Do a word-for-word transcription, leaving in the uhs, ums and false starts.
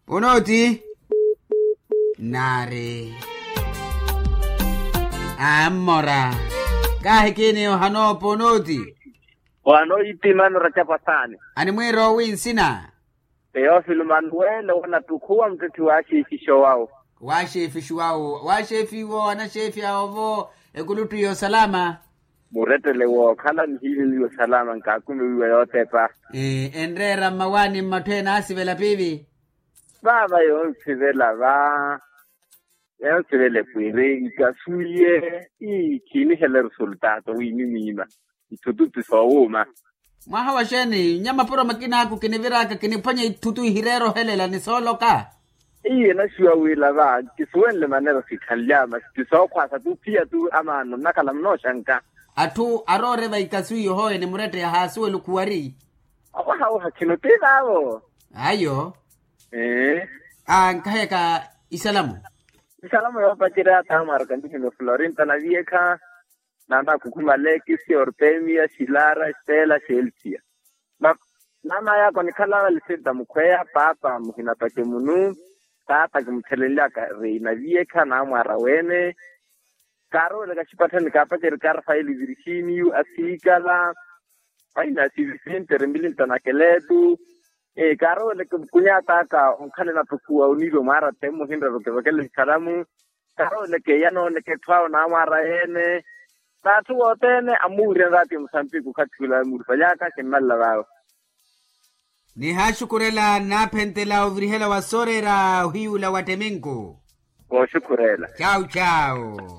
Onooti. Naari. Ammora. Kaahikini ohanoopa onooti. Ohanooyitimani oracapo asaani. Animwiira owi nsina? Teofilo manuwele wanattukhuwa muttetthe wa xeefixa owawo. Wa xeefixa owawo wa xeefi iwo anaxeefi awo vo. Ekuluttu yosalama. Murettele wookhala nihiiveliwe osalama nkaakumiwiwa yootepa. Enreera mmawaani mmatthu ene aasivela piivi. Vaava yoonsivela va. Yoonsivela epwiiri ikasuwiye. Ii khiinihela resultato wiimimwiima. Ithutu ti soowuuma. Mwaha wa xeeni nnya mapuro makinaaku kiniviraka kiniphwanya ithutu ihireera ohelela ni sooloka. Iye naxiwa wila va kisuwenle manera sikhanlyama ti sookhwaasa tu phiya tu amaano nnakhala munooxanka. Atthu aroore va ikasuwi yohooye ni muretteya haasuwela okhuwari. Owaha owaha khino ti vaavo. Ayo. Ee. Ankhayaka isalamu. Isalamu yoopacerya taamwaraka nihino florinta na viekha. Naana akhukhumale kisi ortemia xilara estela xelsia. Naana yaaka onikhala lisenta mukhweya paapa muhinapace munu. Taata kimuthelenlyaka reina viekha naamwaara wene. Kaarooleka xipatthani kaapaceri karfaeli virginiu asiikala. Aina sivisente rembili ntanakeletu. Kaarooleke mukunyataka onkhala enattukhuwa oniiva mwaara temmo ohinrera okivekela exalamu. Kaarooleke yanooneke etthu awo naamwaara yeene. N'atthu wothene amuwiryanaka ati musampiku okhathi ula amuuripalyaka kimmalela vaawe. Nihaaxukhurela nnaaphentela ovirihela wa sooreera ohiyuula wa tteminku. Kooxukhurela. Cawu cawu.